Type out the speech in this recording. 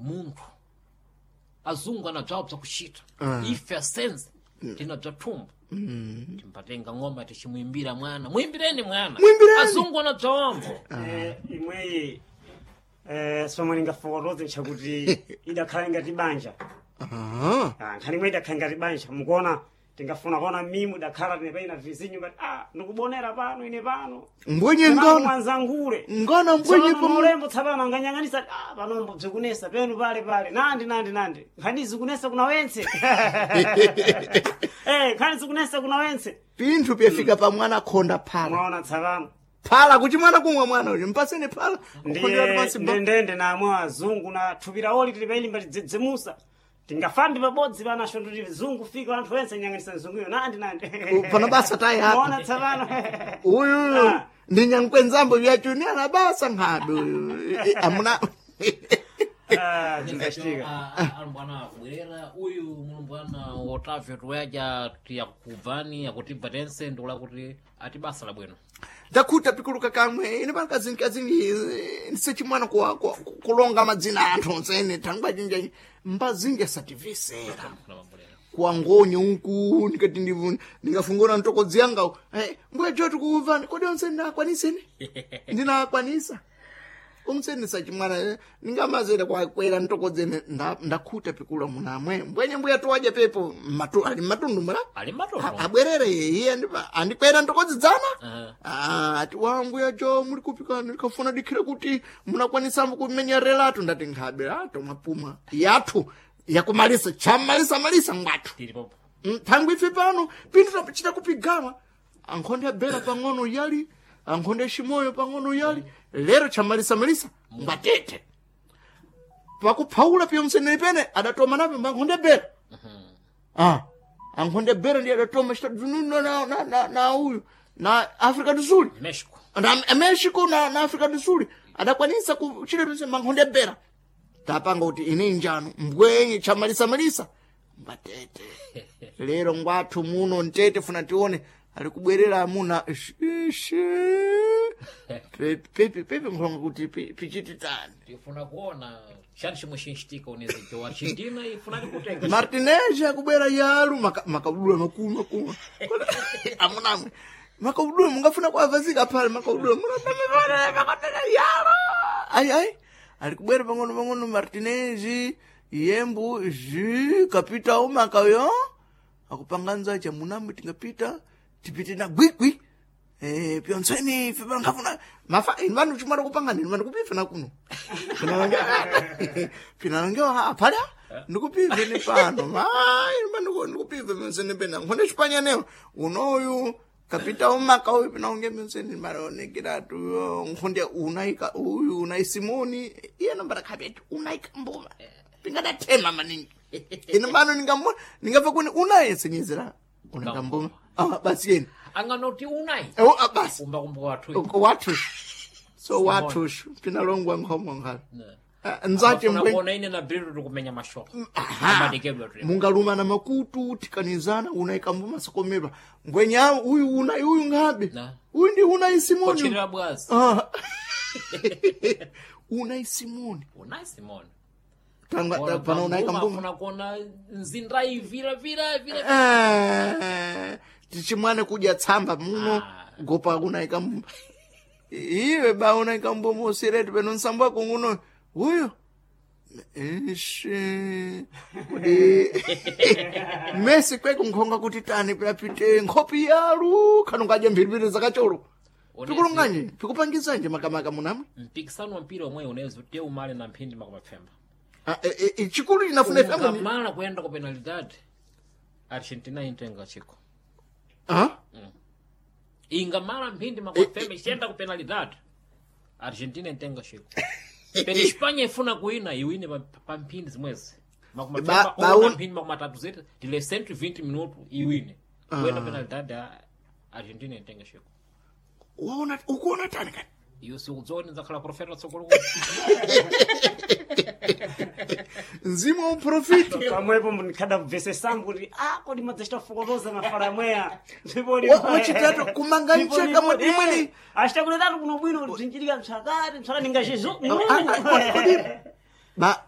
Munthu azungu anabzawo bzakuchita, ife asenze tina bzathumba, timbatenga ng'oma tichimuimbira mwana, muimbireni mwana. Muimbireni. Azungu anabzawambo. Imweyi somwe lingafokotoze nchakuti idakhala ngati banja. Ah. Ah, nkhani imwe idakhala ngati banja, mukuona tingafuna kuona mimu idakhala tinepaina vizinyu ngati ndikubonera pano ine pano. Mbwenye Tsapano ngana mwanzangule ngana mbwenye Tsopano mulembo tsapano anganyang'anisa, panombo bzikunesa penu pale pale nandi nandi nandi, nkhani zikunesa kuna wentse, nkhani zikunesa kuna wentse. Pinthu pyafika pa mwana khonda phala. Mwaona tsapano. Phala kuti mwana kumwa, mwana uyu mpaseni phala kukhondera Ndiye pansi ba. ndendende namwe azungu na thupi lawo tilipaili mbatidzidzimusa, tingafambi pabodzi panacho nduti zungu fika anthu ense nyang'anisa mzunguyo nandi nandi. Pano basa tayi apa. Mwaona tsapano. Uyu Ah. ndi nyankwenzambo vyachuni anabasa nkhabe uyu. Amuna. Ah, zingachitika. Alumbwana akubwerera uyu mulumbwana Otavio tuwaja tiyakubvani akutibva tense, ndikula kuti ati basa labwino. Ndakhuta pikuluka kamwe ine pano kazingi kazingi ndisechimwana kulonga madzina a anthu onsene thangwa jinja mbazingi asativisera kuwangonye uku ndikati ndingafungura mtokodzi yanga mbuya joti kuubvani kodi onse ndinakwanisene ndinakwanisa umseni sachimwana ningamazere kwakwera ntokodzene ndakhuta pikula munamwe mbwenye mbuya tuwadya pepo ali matundu mura. Ali matundu. Abwerere iye andikwera ntokodzi dzana. Aha. Ah, ati wa mbuya jo muli kupika ndikafuna dikhire kuti munakwanisa kumenya relatu, ndati nkhabe ato mwapuma yathu yakumalisa chamalisa malisa ngwathu. Tili popo. Thangwi ife pano pinthu tapachita kupigama ankhonde abera pang'ono yali ankhonde aximoyo pang'ono yali lero chamalisamalisa ngwatete pakuphaula piyomsenene pene adatoma napo ankhonde abera, ankhonde abera ndiye adatoma chitadununa na uyu na Africa do Sul. Mexico. Na Mexico na Africa do Sul adakwanisa kuchita tonse mankhonde abera tapanga kuti ine njano mbwenye chamalisamalisa mbatete lero ngwathu muno ntete funa tione ali kubwerera amuna ishe pepe pepe nkhonga kuti pichititani. Tifuna kuona chani chimwe chinchitika unezijo Argentina ifunani kutenga. Martinez akubwera yalu makabudula makulu makulu amunamwe makabudula mungafuna kuavazika pale makabudula munaa yalo ai ai ali kubwera pang'ono pang'ono Martinez yembu ji kapita umakayo akupanganza cha munamwe tingapita tipite na gwigwi. Pyontsweni ife pangafuna mafa inu vanhu chimwana kupangana inu vanhu kupifa na kuno pinalongewa apala ndikupive ni pano mai ndikupive pyontsweni pena nkhonde chipanyanewo unoyu kapita umaka uyu pinaonge pyontsweni maonekeratu nkhonde unaika uyu unai Simoni iye nombara khabetu unaika mbuma pingadathema maningi inu mano ningabva kuni unayesenyezera unaika mbuma basi yeni. Anganoti unai. Oh, basi. Kumbakumba wathu. Wathu so wathu pinalongwa nkhomo nkhala nzache Afuna mbwe kuona ine na Brito tikumenya mashoka. Aha. Amadekedwa tuli. Mungalumana makutu tikanizana unaika mbuma sakomedwa ngwenya uyu unai uyu ngabe. Na. Uyu ndi unai Simoni. Kochirira bwazi. Ah. Unai Simoni. Unai Simon. Tanga pano unaika mbuma. Afuna kuona nzinda ivira vira vira. Tichimwane kudya tsamba muno. Ah. Gopa unaika mbuma iwe ba unaika mbuma usiretu peno nsambo wako nguno uyu ishe kudi mesi kweko nkhonga kuti tani pilapite nkhopi yalu khanongadya mphiripiri zakacholo. Pikulunganje pikupangizanje makamaka munamwe. Mpikisano wa mpira omwe unezi te umale na mphindi makumapfemba. Ah, chikulu chinafuna ifemo Ungamala kuenda ku penalidade. Argentina intenga chiko. Ah? Ingamala mphindi makumapfemba ichiyenda ku penalidade. Argentina intenga chiko. Pene Espanha ifuna kuina iwine pa mphindi zimwezi. Makumapfemba ona mphindi makumatatu zete tile 120 minuto iwine. Kuenda penalidade Argentina intenga chiko. Waona ukuona tani kani? Iyo sikudzoni nzakhala profeta tsogolo. Mzimu wa uprofiti. Pamwepo ndikhadabvesesambu kuti kodi madzachitafokotoza mafala amweya. Wachitatu kumanga ncheka mwadi imweni. Achitakuletatu kuno bwino kuti bzinchitika msakati msakati ningachezo. Kodi ba